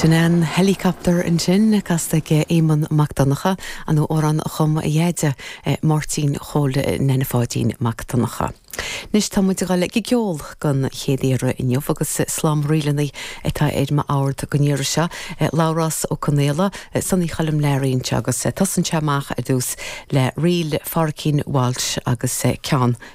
Sin é an Helicopter ansin, casta ag Éamonn Mac Donncha, an amhrán a chum a dheaide, Máirtín Chóil Neaine Pháidín Mac Donncha. Anois tá muid ag dul ag an gceol don chéad iarraidh inniu agus slám ríleanna atá ar m'ord don iarraidh seo, Labhrás Ó Conaola, Sonaí Choilm Learaí anseo agus tosaíonn sé amach ar dtús le ríl Phádraicín Walsh agus ceann.